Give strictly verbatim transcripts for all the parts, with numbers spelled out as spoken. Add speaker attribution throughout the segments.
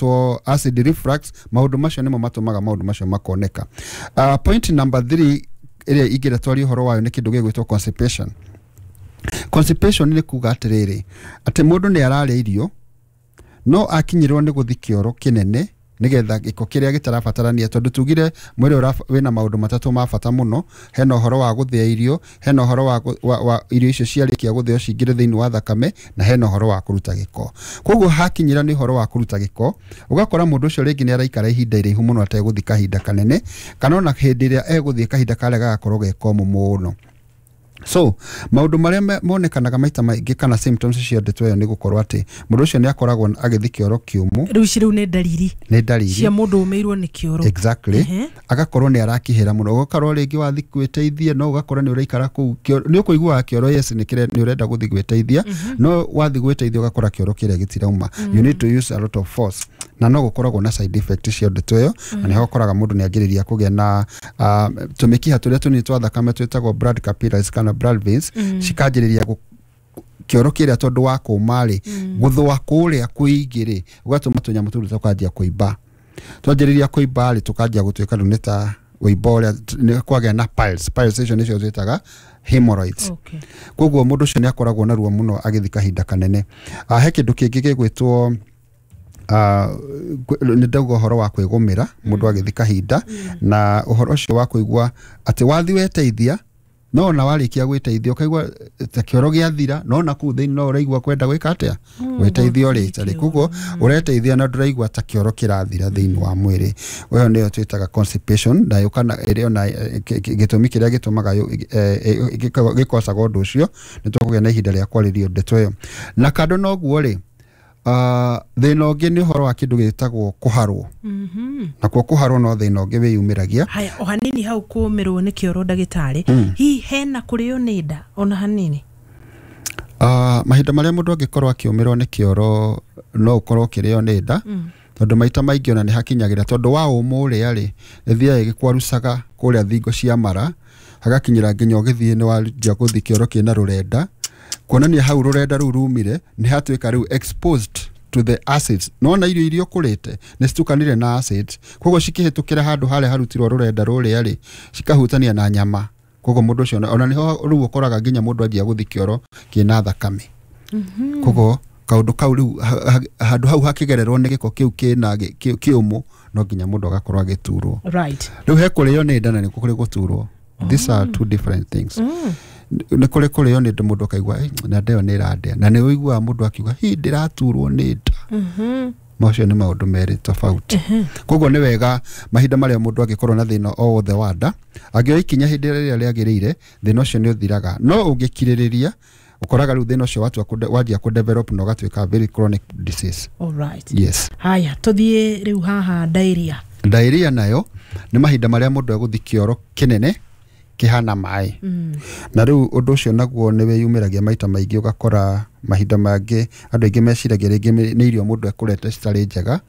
Speaker 1: Gĩgwĩtwo acid reflux. Maũndũ macio nĩmo matũmaga maũndũ macio makoneka. uh, point number three ĩrĩa ingĩenda twarie ũhoro wayo nĩ kĩndũ gĩgwĩtwo constipation. Constipation nĩ kuga atĩrĩrĩ, atĩ mũndũ nĩ ararĩa irio no akinyĩrwo nĩ gũthi kĩoro kĩnene nĩgetha gĩko kĩrĩa gĩtarabatarania, tondũ tugire mwĩrĩ ũra- wĩna maũndũ matatũ ma bata mũno. Hena ũhoro wa gũthĩa irio, hena ũhoro wa, gũ- wa, wa irio icio ciarĩkia gũthĩo cingĩre thĩinĩ wa thakame, na hena ũhoro wa kũruta gĩko. Koguo hakinyĩra nĩ ũhoro wa kũruta gĩko, ũgakora mũndũ ũcio rĩngĩ nĩ araikara ihinda iraihu mũno ategũthiĩ kahinda kanene, kana ona hĩndĩ ĩrĩa egũthiĩ kahinda karĩa gagakorwo ge komũ mũno. So maũndũ marĩa me- monekanaga maita maingĩ kana symptoms cia ndeto ĩyo nĩ gũkorwo atĩ mũndũ ũcio nĩ akoragwo agĩthiĩ kĩoro kĩũmũ.
Speaker 2: Rĩu ici rĩu nĩ ndariri
Speaker 1: Nĩ ndariri
Speaker 2: cia mũndũ ũmĩirwo nĩ kĩoro.
Speaker 1: Exactly.
Speaker 2: Ehe.
Speaker 1: Agakorwo nĩ arakĩhĩra mũno, ũgakorwo rĩngĩ wathiĩ gwĩteithia no ũgakora nĩ ũraikara kũu kĩoro- nĩ ũkũiguaga kĩoro, yes, nĩ kĩre- nĩ ũrenda gũthiĩ gwĩteithia, no wathiĩ gwĩteithia ũgakora kĩoro kĩrĩa gĩtirauma. You need to use a lot of force, na no gũkoragwo na side effect cia ndeto ĩyo, na nĩho ũkoraga mũndũ nĩ anjĩrĩria kũgĩa na uh, tũmĩkiha tũrĩa tũnini twa thakame twĩtagwo blood capillaries kana blood veins, cikanjĩrĩria gũ- kĩoro kĩrĩa tondũ wa kũma rĩ, gũthũa kũrĩa kũingĩ rĩ, ũgatũma tũnyamũ tũu tũkanjia kũimba. Twanjĩrĩria kũimba rĩ, tũkanjia gũtuĩka rĩu nĩ ta wĩimbo ũrĩa nĩ kwagĩa na piles. Piles icio nĩcio twĩtaga hemorrhoids.
Speaker 2: Okay.
Speaker 1: Koguo mũndũ ũcio nĩ akoragwo na ruo mũno agĩthiĩ kahinda kanene. Ah, he kĩndũ kĩngĩ gĩgwĩtwo uh, nĩ ndauga ũhoro wa kwĩgũmĩra mũndũ agĩthiĩ kahinda, na ũhoro ũcio wa kũigua atĩ wathiĩ weteithia, no ona warĩkia gwĩteithia ũkaigua ta kĩoro gĩathira, no ona kũu thĩinĩ no ũraigua kwenda gwĩka atĩa, gwĩteithia ũrĩte rĩ. Koguo ũreteithia na ndũraigua ta kĩoro kĩrathira thĩinĩ wa mwĩrĩ. Ĩyo nĩyo twĩtaga constipation, na yũkana ĩrĩ ona eh, kĩ- kĩ- gĩtũmi kĩrĩa gĩtũmaga yũ- eh, eh, gĩko- gĩkocaga ũndũ ũcio. Nĩ tũkũgĩa na ihinda rĩa kwarĩrio ndeto ĩyo. Na kando na ũguo rĩ, uh, thĩna ũngĩ nĩ ũhoro wa kĩndũ gĩtagwo kũharwo.
Speaker 2: Mhm.
Speaker 1: Nakuo kũharwo no thĩna ũngĩ wĩyumĩragia.
Speaker 2: Haya, o hanini hau kũmĩrwo nĩ kĩoro, ndagĩtarĩ, hihi hena kũrĩo nĩ nda ona hanini?
Speaker 1: Uh, mahinda marĩa mũndũ angĩkorwo akĩũmĩrwo nĩ kĩoro, no ũkorwo ũkĩrĩo nĩ nda, tondũ maita maingĩ ona nĩ hakinyagĩra tondũ wa ũmũ ũrĩa rĩ, ĩthiaga ĩgĩkwarucaga kũrĩa thingo cia mara, hagakinyĩra nginya ũgĩthiĩ nĩ wanjia gũthiĩ kĩoro kĩna rũrenda, kuonania hau rũrenda rũu rumire nĩ hatuĩka rĩu exposed to the acids. Nona irio iria ũkũrĩte nĩ citukanire na acids, koguo cikĩhĩtũkĩra handũ harĩa harutirwo rũrenda rũrĩa rĩ, cikahutania na nyama. Koguo mũndũ ũcio ona nĩho rĩu ũkoraga nginya mũndũ anjia gũthiĩ kĩoro kĩna thakame. Koguo kaũndũ kau rĩu ha- ha- handũ hau hakĩgererwo nĩ gĩko kĩu kĩna gĩ- kĩ- kĩũmũ, no nginya mũndũ agakorwo agĩturwo.
Speaker 2: Right
Speaker 1: rĩu he kũrĩo nĩ nda na nĩ kũrĩ gũturwo. These are two different things. Nĩ kũrĩ kũrĩo nĩ nda, mũndũ akaigua, "Ĩ, na nda ĩyo nĩ ĩrandĩa," na nĩ ũiguaga mũndũ akiuga, "Hi, ndĩraturwo nĩ nda." Macio nĩ maũndũ merĩ tofauti. Koguo nĩ wega mahinda marĩa mũndũ angĩkorwo na thĩna o wothe wa nda, angĩoya ikinya hĩndĩ ĩrĩa rĩagĩrĩire, thĩna ũcio nĩ ũthiraga. No ũngĩkirĩrĩria, ũkoraga rĩu thĩna ũcio watua kũde- wanjia kũdevelop na ũgatuĩka very chronic disease.
Speaker 2: Alright.
Speaker 1: Yes.
Speaker 2: Haya, tũthiĩ rĩu haha diarrhea.
Speaker 1: Diarrhea nayo nĩ mahinda marĩa mũndũ egũthiĩ kĩoro kĩnene kĩhana maĩ. Na rĩu ũndũ ũcio naguo nĩ wĩyumĩragia maita maingĩ. Ũgakora mahinda mangĩ andũ aingĩ meciragia rĩngĩ nĩ nĩ irio mũndũ ekũrete citarĩ njega,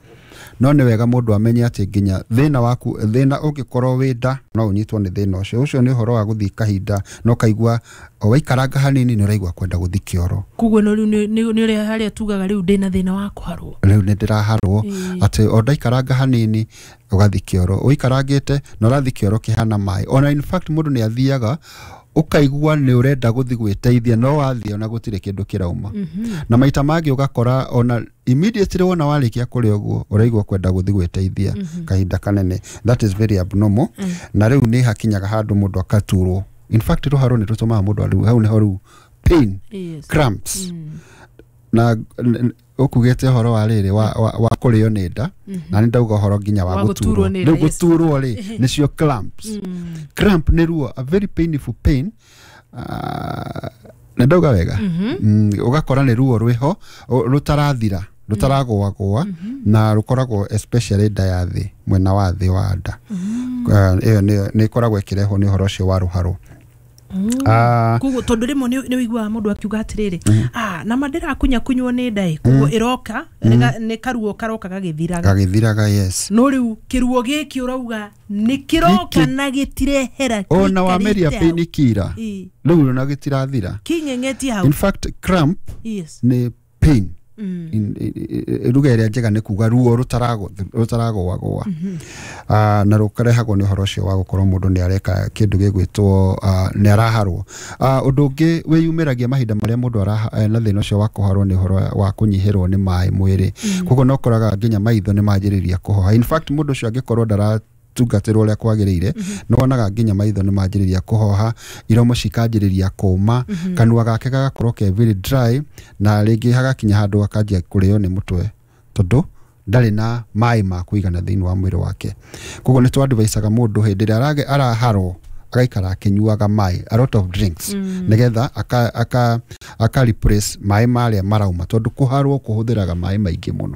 Speaker 1: no nĩ wega mũndũ amenye atĩ nginya thĩna waku, thĩna ũngĩkorwo wĩ nda, no ũnyitwo nĩ thĩna ũcio. Ũcio nĩ ũhoro wa gũthiĩ kahinda na ũkaigua o waikaranga hanini nĩ ũraigua kwenda gũthiĩ kĩoro.
Speaker 2: Koguo no rĩu nĩ nĩ- nĩ ũrĩa harĩa tugaga rĩu ndĩna thĩna wa kũharwo.
Speaker 1: Rĩu nĩ ndĩraharwo.
Speaker 2: Ĩĩ.
Speaker 1: Atĩ o ndaikaranga hanini ũgathiĩ kĩoro, ũikarangĩte na ũrathiĩ kĩoro kĩhana maĩ. Ona in fact mũndũ nĩ athiaga ũkaigua nĩ ũrenda gũthiĩ gwĩteithia, no wathiĩ ona gũtirĩ kĩndũ kĩrauma. Na maita mangĩ ũgakora ona immediately wona warĩkia kũrĩa ũguo ũraigua kwenda gũthiĩ gwĩteithia kahinda kanene. That is very abnormal. Na rĩu nĩ hakinyaga handũ mũndũ akaturwo. In fact rũharo nĩ rũtũmaga mũndũ rĩu hau nĩho rĩu pain,
Speaker 2: Yes.
Speaker 1: cramps. Na n- ũkugĩte ũhoro wa rĩrĩ wa, wa, wa kũrĩo nĩ nda, na nĩ ndauga ũhoro nginya wa
Speaker 2: Wa gũturwo
Speaker 1: gũturwo.
Speaker 2: nĩ nda,
Speaker 1: Rĩu
Speaker 2: yes.
Speaker 1: gũturwo rĩ, nĩcio cramps. Cramp nĩ ruo, a very painful pain. uh, nĩ ndauga wega? mm, ũgakora nĩ ruo rwĩho ũ- rũtarathira, rũtaragũagũa, na rũkoragwo especially nda ya thĩ, mwena wa thĩ wa nda. Uh, ĩyo nĩyo nĩ ĩkoragwo ĩkĩrehwo nĩ ũhoro ũcio wa rũharo. Ah,
Speaker 2: Koguo tondũ rĩmwe nĩ nĩ ũiguaga mũndũ akiuga atĩrĩrĩ, ah, nama ndĩrakunya kunywo nĩ nda ĩ, koguo ĩroka nĩ nĩ karuo karoka gagĩthiraga.
Speaker 1: Gagĩthiraga, yes.
Speaker 2: No rĩu kĩruo gĩkĩ ũrauga nĩ kĩroka
Speaker 1: Gĩkĩ-
Speaker 2: na gĩtirehera.
Speaker 1: Ona wameria
Speaker 2: gĩikarĩte hau.
Speaker 1: pain killer,
Speaker 2: Ĩ.
Speaker 1: rĩu ona gĩtirathira.
Speaker 2: Kĩng'eng'etie hau.
Speaker 1: In fact cramp
Speaker 2: yes
Speaker 1: nĩ pain. Mm. Ruga ĩrĩa njega nĩ kuga ruo rũtaragũagũa, na rũkarehagwo nĩ ũhoro ũcio wa gũkorwo mũndũ nĩ areka kĩndũ gĩgwĩtwo nĩ araharwo. Ũndũ ũngĩ wĩyumĩragia mahinda marĩa mũndũ na thĩna ũcio wa kũharwo nĩ ũhoro wa kũnyihĩrwo nĩ maĩ mwĩrĩ. Koguo no ũkoraga nginya maitho nĩ manjĩrĩria kũhoha. In fact mũndũ ũcio angĩkorwo ndara tungatĩrwo ũrĩa kwagĩrĩire, nĩ wonaga nginya maitho nĩ manjĩrĩria kũhoha, iromo cikanjĩrĩria kũma, kanua gake gagakorwo ke very dry, na rĩngĩ hagakinya handũ akanjia kũrĩo nĩ mũtwe tondũ ndarĩ na maĩ ma kũigana thĩinĩ wa mwĩrĩ wake. Koguo nĩ twadvisaga mũndũ hĩndĩ ĩrĩa araharwo agaikara akĩnyuaga maĩ, a lot of drinks, nĩgetha aka aka aka replace maĩ marĩa marauma, tondũ kũharwo kũhũthĩraga maĩ maingĩ mũno.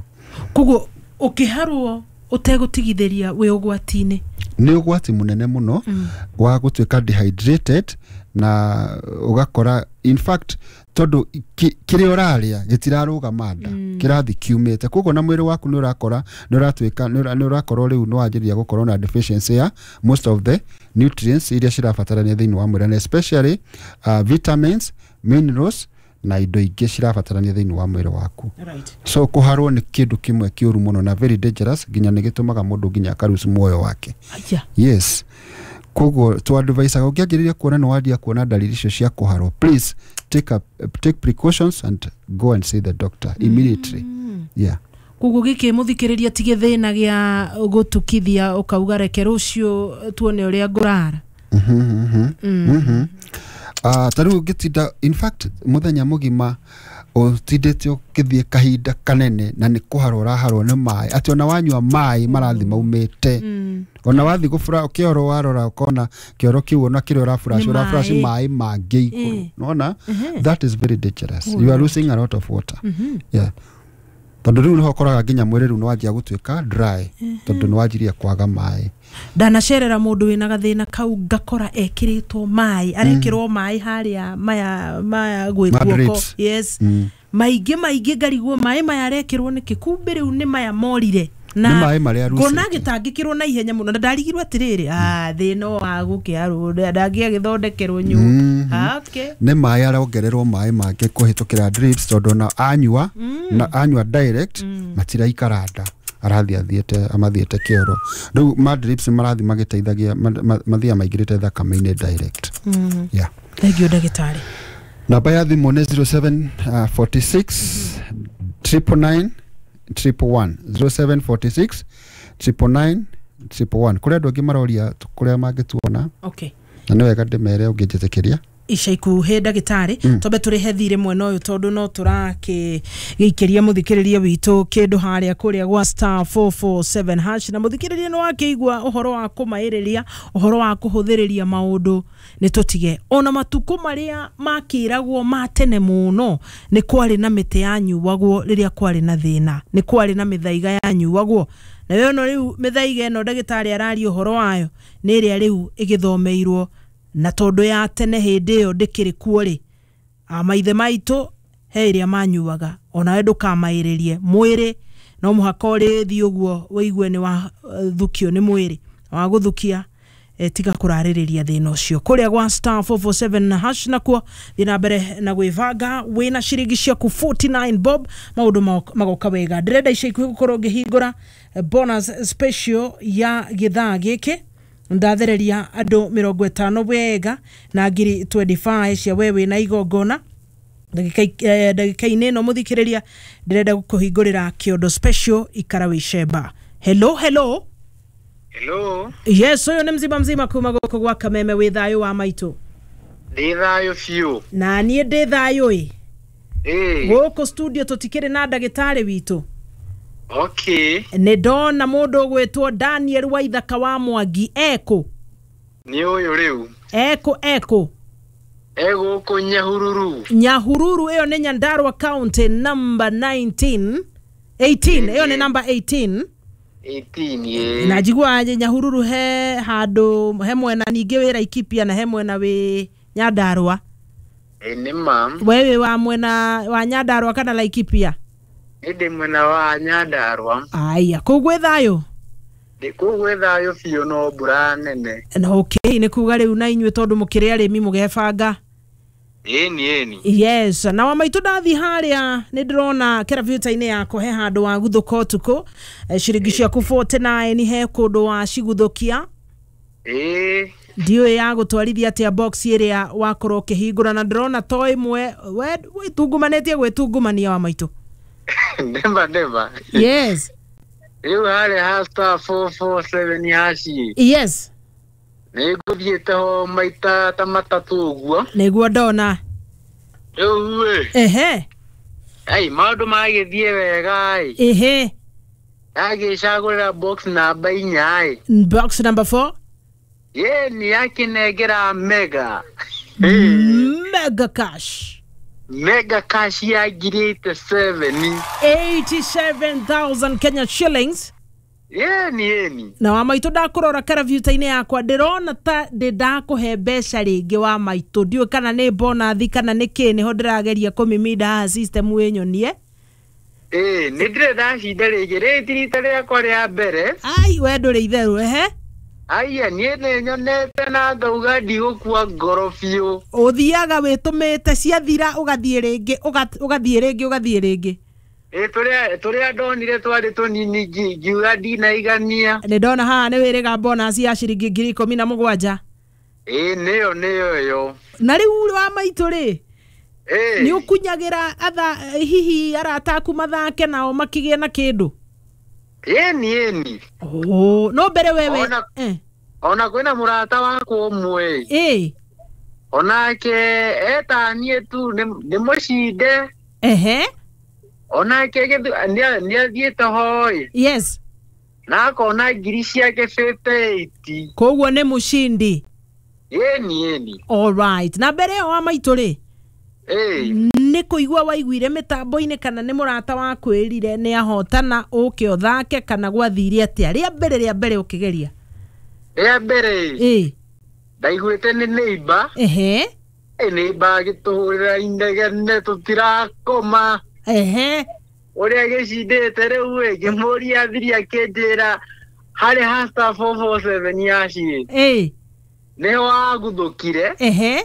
Speaker 2: Koguo ũkĩharwo ũtegũtigithĩria wĩ ũgwati-inĩ?
Speaker 1: Nĩ ũgwati mũnene mũno wa gũtuĩka dehydrated, na ũgakora in fact tondũ kĩrĩa ũrarĩa gĩtirarũgama nda, kĩrathiĩ kiumĩte. Koguo na mwĩrĩ waku nĩ ũrakora nĩ ũratuĩka nĩ ũrakorwo rĩu nĩ wanjĩrĩria gũkorwo na deficiency ya most of the nutrients iria cirabatarania thĩinĩ wa mwĩrĩ, na especially uh, vitamins, minerals na indo ingĩ cirabatarania thĩinĩ wa mwĩrĩ waku.
Speaker 2: Right.
Speaker 1: So kũharwo nĩ kĩndũ kĩmwe kĩũru mũno na very dangerous, nginya nĩ gĩtũmaga mũndũ nginya akaruci muoyo wake.
Speaker 2: Aya.
Speaker 1: Yes. Koguo twadvisaga ũngĩanjĩrĩria kuona nĩ wanjia kuona dalili icio cia kũharwo, please take a, take precautions and go and see the doctor immediately. Mm. Yeah.
Speaker 2: Koguo gĩkĩ mũthikĩrĩria ti gĩthĩna gĩa gũtukithia ũkauga reke rũciũ tuone ũrĩa ngũrara.
Speaker 1: Mhm, mhm. Mhm. Uh, ta rĩu ũngĩtinda in fact mũthenya mũgima ũtindĩte ũgĩthiĩ kahinda kanene na nĩ kũharwo ũraharwo nĩ maĩ, atĩ ona wanyua maĩ marathiĩ maumĩte, ona wathiĩ gũbura kĩoro warora ũkona kĩoro kĩu ona kĩrĩa ũraburaci ũraburaci maĩ mangĩ igũrũ, nĩwona? That is very dangerous. You are losing a lot of water. Yeah. Tondũ rĩu nĩho ũkoraga nginya mwĩrĩ rĩu nĩwanjia gũtuĩka dry, tondũ nĩwanjirie kwaga maĩ.
Speaker 2: Ndanacerera mũndũ wĩna gathĩna kau ngakora ekĩrĩtwo maĩ, arekĩrwo maĩ harĩa maya maya gwĩ guoko. Yes. Maingĩ maingĩ ngarigwo maĩ maya arekĩrwo nĩkĩ, kumbe rĩu nĩ maya morire. Na ngona gĩtangĩkĩrwo na ihenya mũno, na ndarigirwo atĩrĩrĩ, ah thĩna wa gũkĩarwo ndangĩagĩthondekerwo nyũmba. Okay.
Speaker 1: Nĩ maĩ arongererwo maĩ mangĩ kũhĩtũkĩra drips, tondũ ona anyua na anyua direct matiraikara nda, arathiĩ athiĩte amathiĩte kĩoro. Rĩu ma drips marathiĩ magĩteithagia mathiaga maingĩrĩte thakame-inĩ direct. Yeah.
Speaker 2: Thank you ndagĩtarĩ.
Speaker 1: Namba ya thimũ nĩ zero seven four six triple nine triple one, zero seven four six triple nine triple one. Kũrĩ andũ angĩ maroria kũrĩa mangĩtuona.
Speaker 2: Okay.
Speaker 1: Na nĩ wega ndĩmere ũngĩnjĩtĩkĩria.
Speaker 2: Ica ikuhĩ ndagĩtarĩ, twambe tũrĩhe thirĩ mwena ũyũ tondũ no tũrakĩgĩikĩria mũthikĩrĩria witũ kĩndũ harĩa kũrĩa gwa star four four seven hash, na mũthikĩrĩria nĩ wakĩigua ũhoro wa kũmaĩrĩria, ũhoro wa kũhũthĩrĩria maũndũ nĩ tũtige. Ona matukũ marĩa makĩragwo ma tene mũno nĩ kwarĩ na mĩtĩ yanyuagwo rĩrĩa kwarĩ na thĩna, nĩ kwarĩ na mĩthaiga yanyuagwo. Na ĩno rĩu mĩthaiga ĩno ndagĩtarĩ araria ũhoro wayo nĩ ĩrĩa rĩu ĩgĩthomeirwo, na tondũ ya tene hĩndĩ ĩyo ndĩkĩrĩ kuo rĩ, maithe maitũ he ĩrĩa manyuaga, onawe ndũkamaĩrĩrie mwĩrĩ, no mũhaka ũrĩthiĩ ũguo wĩigue nĩ wathukio nĩ mwĩrĩ wa gũthukia, tiga kũrarĩrĩria thĩna ũcio. Kũrĩa gwa star four four seven hash nakuo thiĩ na mbere na gwĩbanga wĩna ciringi ciaku forty-nine bob, maũndũ magoka wega. Ndĩrenda ica ikuhĩ gũkorwo ngĩhingũra bonus special ya gĩthaa gĩkĩ, ndathereria andũ mĩrongo ĩtano wega na ngiri twenty-five cia we wĩna igongona. Ndagĩka-inĩ ĩno mũthikĩrĩria ndĩrenda gũkũhingũrĩra kĩondo special ikara wĩcemba. Hello, hello.
Speaker 3: Hello.
Speaker 2: Yes, ũyũ nĩ mzima mzima kuma gũkũ gwa Kameme, wĩ thayũ wa maitũ?
Speaker 3: Ndĩ thayũ biũ.
Speaker 2: Na niĩ ndĩ thayũ ĩ.
Speaker 3: Ĩ.
Speaker 2: Gũkũ studio tũtikĩrĩ na ndagĩtarĩ witũ.
Speaker 3: Okay.
Speaker 2: Nĩ ndona mũndũ ũgwĩtwo Daniel Waithaka wa Mwangi ekũ?
Speaker 3: Nĩ ũyũ rĩu.
Speaker 2: Ekũ ekũ?
Speaker 3: Egũkũ Nyahururu.
Speaker 2: Nyahururu ĩyo nĩ Nyandarua County number nineteen eighteen, ĩyo nĩ number eighteen.
Speaker 3: eighteen ye.
Speaker 2: Na njigua Nyahururu he handũ he mwena ningĩ wĩ Laikipia na he mwena wĩ Nyandarua.
Speaker 3: Ĩ nĩ ma.
Speaker 2: We wĩ wa mwena wa Nyandarua kana Laikipia?
Speaker 3: Ndĩ mwena wa Nyandarua.
Speaker 2: Aya, kũu gwĩ thayũ?
Speaker 3: Ndĩ kũu gwĩ thayũ biũ no mbura nene.
Speaker 2: Na okay, nĩ kuga rĩu na inyuĩ tondũ mũkĩrĩ arĩmi mũgebanga.
Speaker 3: Ĩni ĩni.
Speaker 2: Yes, na wa maitũ ndathi harĩa nĩ ndĩrona kĩrabiuta-inĩ yakwa he handũ wa guthũka ũtukũ. Eh, ciringi ciaku mĩrongo ĩnana na kenda he kũndũ waciguthũkia.
Speaker 3: Ĩĩ.
Speaker 2: Ndiũĩ ya gũtwarithia atĩa box ĩrĩa wakorwo ũkĩhingũra, na ndĩrona to ĩmwe we wĩtungumanĩtie gwĩtungumania wa maitũ.
Speaker 3: Never never.
Speaker 2: Yes.
Speaker 3: Rĩu harĩa ha star four four seven hash.
Speaker 2: Yes.
Speaker 3: Nĩ ngũthiĩte ho maita ta matatũ ũguo.
Speaker 2: Nĩguo ndona.
Speaker 3: Rĩu ĩ,
Speaker 2: ehe
Speaker 3: ai, maũndũ magĩthiĩ wega ĩ.
Speaker 2: Ehe
Speaker 3: Yagĩcagũrĩra box namba inya ĩ.
Speaker 2: Box number four.
Speaker 3: Ĩni, yakĩnengera mega.
Speaker 2: Mega cash.
Speaker 3: Mega cash ya ngiri eighty-seven.
Speaker 2: eighty-seven thousand Kenya shillings.
Speaker 3: Ĩni ĩni.
Speaker 2: Na wa maitũ, ndakũrora karabiuta-inĩ yakwa, ndĩrona ta ndĩ ndakũhe mbeca rĩngĩ wa maitũ. Ndiũĩ kana nĩ bonathi kana nĩ kĩ, nĩho ndĩrageria kũmiminda haha system ĩnyonie.
Speaker 3: Ĩĩ, nĩ ndĩrĩ ndacinda rĩngĩ, rĩrĩ ti rita rĩakwa rĩa mbere.
Speaker 2: Ai, we ndũrĩ itherũ, ehe.
Speaker 3: Aya, niĩ nĩ nyonete na ngauga ndigũkua ngoro biũ.
Speaker 2: Ũthiaga wĩtũmĩte, ciathira ũgathiĩ rĩngĩ, ũga- ũgathiĩ rĩngĩ, ũgathiĩ rĩngĩ.
Speaker 3: Ĩ, tũrĩa tũrĩa ndonire twarĩ tũnini, ngi- ngiuga ndinaigania.
Speaker 2: Nĩ ndona haha nĩ wĩrĩga bonus ya ciringi ngiri ikũmi na mũgwanja.
Speaker 3: Ĩ, nĩyo nĩyo ĩyo.
Speaker 2: Na rĩu wa maitũ rĩ,
Speaker 3: Ĩ.
Speaker 2: nĩ ũkunyagĩra atha hihi arata aku mathake nao makĩgĩe na kĩndũ?
Speaker 3: Ĩni ĩni.
Speaker 2: Oh, no mbere wewe.
Speaker 3: Ona-
Speaker 2: eh.
Speaker 3: Ona kwĩna mũrata wakwa ũmwe.
Speaker 2: Ĩ.
Speaker 3: Onake etaniĩ tu nĩ nĩ mũcinde.
Speaker 2: Ehe.
Speaker 3: Onake gĩthu- nĩ nĩ athiĩte hoi
Speaker 2: Yes.
Speaker 3: na akona ngiri ciake fifty-eight.
Speaker 2: Koguo nĩ mũcindi.
Speaker 3: Ĩni ĩni.
Speaker 2: Alright, na mbere ĩyo wa maitũ rĩ,
Speaker 3: Ĩ.
Speaker 2: nĩ kũigua waiguire mĩtambo-inĩ kana nĩ mũrata wakwĩrire nĩ ahotana ũke ũthake, kana gwathire atĩa rĩa mbere rĩa mbere ũkĩgeria?
Speaker 3: Rĩa mbere
Speaker 2: ĩ
Speaker 3: ndaiguĩte nĩ neighbor.
Speaker 2: Ehe.
Speaker 3: Ĩ, neighbor agĩtũhũrĩra inegene tũtirakoma
Speaker 2: ehe
Speaker 3: ũrĩa gĩcindĩte. Rĩu ĩ, ngĩmũria thiri, akĩnjĩra harĩ ha star four four seven hash
Speaker 2: ĩ
Speaker 3: nĩho aguthũkire,
Speaker 2: ehe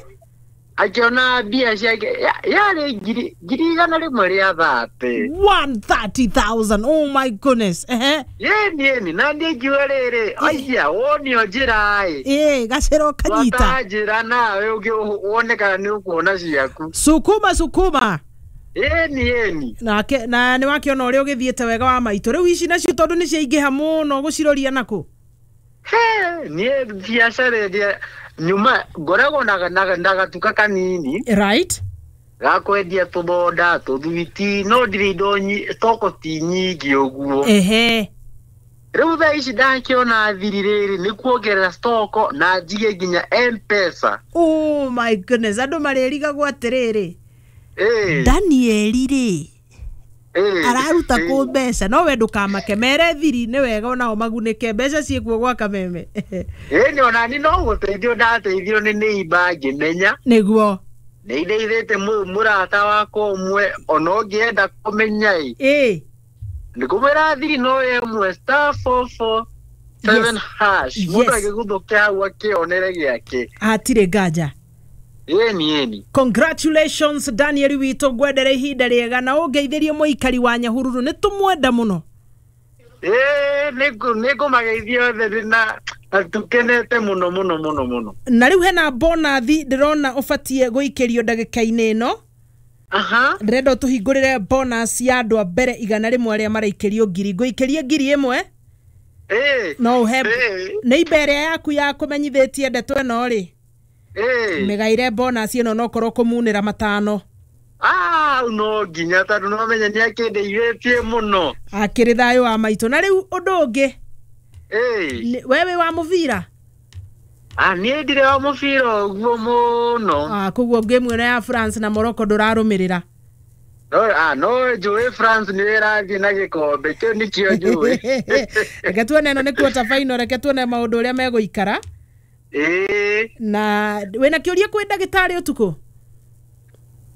Speaker 3: akĩona mbia ciake ya- yarĩ ngiri ngiri igana rĩmwe rĩa thate.
Speaker 2: one hundred thirty thousand, oh my goodness, ehe.
Speaker 3: Yeni yeni, na niĩ ngiuga rĩrĩ, aya, wonio njĩra ĩ.
Speaker 2: Ĩ, gacĩra ũkanyita.
Speaker 3: Twata njĩra nawe ũngĩ wone kana nĩ ũkuona ciaku.
Speaker 2: Sukuma sukuma.
Speaker 3: Yeni yeni.
Speaker 2: Nake na nĩ wakĩona ũrĩa ũgĩthiĩte wega wa maitũ. Rĩu ici nacio tondũ nĩ ciaingĩha mũno, gũciroria nakũ?
Speaker 3: He, niĩ biacara ĩrĩa nyuma ngoragwo na na na gatuka kanini
Speaker 2: right
Speaker 3: ga kwendia tũthonda, tũthwiti, no ndirĩ indo nyi- stoko ti nyingĩ ũguo.
Speaker 2: Ehe
Speaker 3: Rĩu thaa ici ndakĩona thiri rĩrĩ nĩ kuongerera stoko na njige nginya M-Pesa.
Speaker 2: Oh my goodness, andũ marĩrigagwo atĩrĩrĩ,
Speaker 3: Ĩĩ.
Speaker 2: Danieli rĩ,
Speaker 3: ĩĩ,
Speaker 2: araruta
Speaker 3: ĩĩ.
Speaker 2: kũ mbeca? No we ndũkamake, mere thiri nĩ wega onao magunĩke, mbeca ciĩkuo gwa kameme.
Speaker 3: Ĩĩ, nĩ onani no gũteithio ndateithio nĩ neighbor ngĩmenya.
Speaker 2: Nĩguo.
Speaker 3: Nĩ indeithĩte mũ- mũrata wakwa ũmwe, ona ũngĩenda kũmenya ĩ,
Speaker 2: ĩ
Speaker 3: nĩ kũmwĩra thiri no ĩmwe, star four four seven
Speaker 2: Yes.
Speaker 3: hash. Mũndũ
Speaker 2: Yes.
Speaker 3: agĩguthũke hau akĩonere gĩake.
Speaker 2: Hatirĩ nganja.
Speaker 3: Ĩni ĩni.
Speaker 2: Congratulations, Daniel witũ, ngwendere ihinda rĩega na ũngeithĩrie mũikari wa Nyahururu, nĩ tũmwenda mũno.
Speaker 3: Ĩĩ, nĩ ngũmageithia othe na na tũkenete mũno mũno mũno mũno.
Speaker 2: Na rĩu hena bonathi ndĩrona ũbatiĩ gũikĩrio ndagĩka-inĩ ĩno.
Speaker 3: Aha.
Speaker 2: Ndĩrenda ũtũhingũrĩre bonus ya andũ a mbere igana rĩmwe arĩa maraikĩrio ngiri. Ngũikĩrie ngiri ĩmwe.
Speaker 3: Ĩĩ.
Speaker 2: No ũhe
Speaker 3: Ĩĩ.
Speaker 2: nĩ imba ĩrĩa yaku ya kũmenyithĩtie ndeto ĩno rĩ,
Speaker 3: Ĩĩ.
Speaker 2: mĩgaire bonus ĩno nokorwo kũmunĩra matano.
Speaker 3: Ah, no nginya, tondũ no menya nĩ akĩndeithĩtie mũno.
Speaker 2: Akĩrĩ thayũ wa maitũ. Na rĩu ũndũ ũngĩ,
Speaker 3: Ĩĩ.
Speaker 2: nĩ- we wĩ wa mũbira?
Speaker 3: Ah, niĩ ndirĩ wa mũbira ũguo mũno.
Speaker 2: Ah, koguo ngĩmu ĩno ya France na Morocco ndũrarũmĩrĩra?
Speaker 3: No, ah, no njũĩ France nĩ ĩrathiĩ na gĩkombe kĩu, nĩkĩo njũĩ.
Speaker 2: Reke tuone, ĩno nĩ quarter final, reke tuone maũndũ ũrĩa megũikara.
Speaker 3: Ĩĩ.
Speaker 2: Na wĩna kĩũria kwĩ ndagĩtarĩ ũtukũ?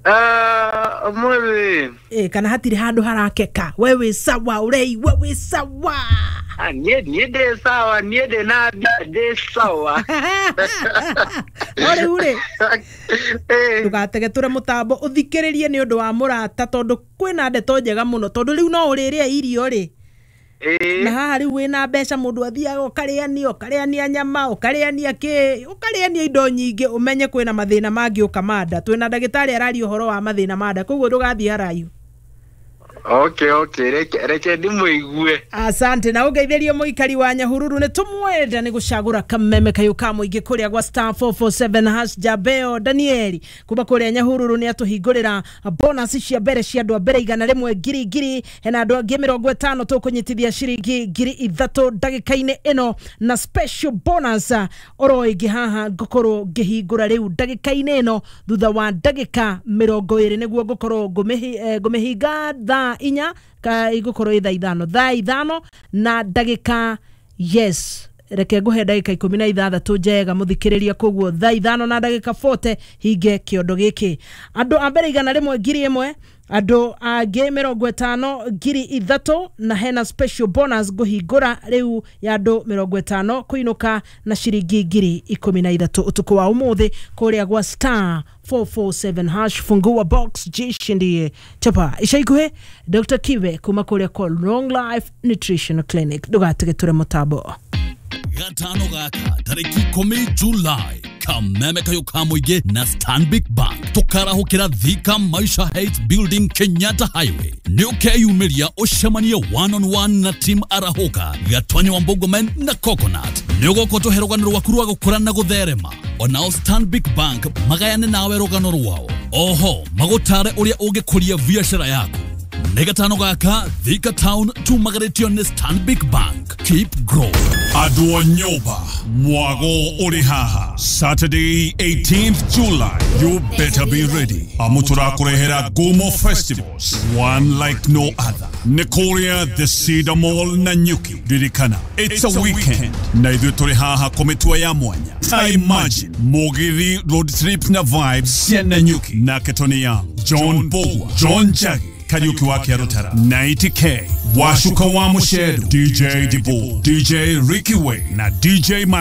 Speaker 3: Ah, ũmũthĩ.
Speaker 2: Ĩ, kana hatirĩ handũ harakeka, we wĩ sawa, ũreigua wĩ sawa?
Speaker 3: Ah, niĩ niĩ ndĩ sawa, niĩ ndĩ na mbia, ndĩ sawa.
Speaker 2: No rĩu rĩ ndũgatege tũre mũtambo ũthikĩrĩrie nĩ ũndũ wa mũrata tondũ kwĩna ndeto njega mũno tondũ rĩu no ũrĩrĩa irio rĩ na haha rĩu wĩna mbeca mũndũ athiaga ũkarĩania ũkarĩania nyama ũkarĩania kĩ ũkarĩania indo nyingĩ ũmenye kwĩna mathĩna mangĩũka ma nda. Twĩna ndagĩtarĩ araria ũhoro wa mathĩna ma nda koguo ndũgathiĩ haraihu.
Speaker 3: Okay, okay, reke reke ndimũigue.
Speaker 2: Asante na ũngeithĩrie mũikari wa Nyahururu nĩ tũmwenda nĩ gũcagũra kameme kayũ ka mũingĩ kũrĩa gwa star four four seven hash. Jabeo Danieli kuma kũrĩa Nyahururu nĩ atũhingũrĩra bonus cia mbere cia andũ a mbere igana rĩmwe ngiri ngiri hena andũ angĩ mĩrongo ĩtano tũkũnyitithia ciringi ngiri ithatũ ndagĩka-inĩ ĩno na special bonus oro ĩngĩ haha ngũkorwo ngĩhingũra rĩu ndagĩka-inĩ ĩno thutha wa ndagĩka mĩrongo ĩrĩ nĩguo ngũkorwo ngũmĩhinga thaa inya ka igukorwo thaa ithano thaa ithano na ndagĩka yes reke nguhe ndagĩka ikũmi na ithathatũ njega mũthikĩrĩria koguo thaa ithano na ndagĩka forty hinge kĩondo gĩkĩ andũ a mbere igana rĩmwe ngiri ĩmwe andũ angĩ mĩrongo ĩtano ngiri ithatũ na hena special bonus ngũhingũra rĩu ya andũ mĩrongo ĩtano kũinũka na ciringi ngiri ikũmi na ithatũ ũtukũ wa ũmũthĩ kũrĩa gwa star four four seven hash fungua box jishindie chapa ica ikuhĩ Doctor Kibe kuma kũrĩa kwa Long Life Nutrition Clinic ndũgatige tũre mũtambo.
Speaker 4: Gatano gaka tariki ikũmi July kameme kayo ka mũingĩ na Stanbic Bank tũkarahũkĩra Thika Maisha Heights Building Kenyatta Highway nĩ ũkeyumĩria ũcemanie one on one na team Arahũka Gatwanya wa Mbogomen na Coconut nĩ ũgoka ũtũhe rũgano rwaku rwa gũkũra na gũtherema onao Stanbic Bank magayane nawe rũgano rwao oho magũtare ũrĩa ũngĩkũria biacara yaku. Nĩ gatano gaka Thika Town tumagarĩtio nĩ Stanbic Bank. Keep growing.
Speaker 5: Andũ a nyũmba mwago ũrĩ haha Saturday eighteenth July you better be ready amu tũrakũrehera Gumo Festivals one like no other nĩ kũrĩa the Cedar Mall na Nyuki. Ririkana it's a weekend na ithuĩ tũrĩ haha kũmĩtua ya mwanya. I imagine mũgithi road trip na vibes cia Nanyuki na Ketoni Young, John Bogwa, John Jagi Kariuki wa Kiarutara, ninety K, Washuka wa Mushedu, D J Dibu, D J Ricky Way na D J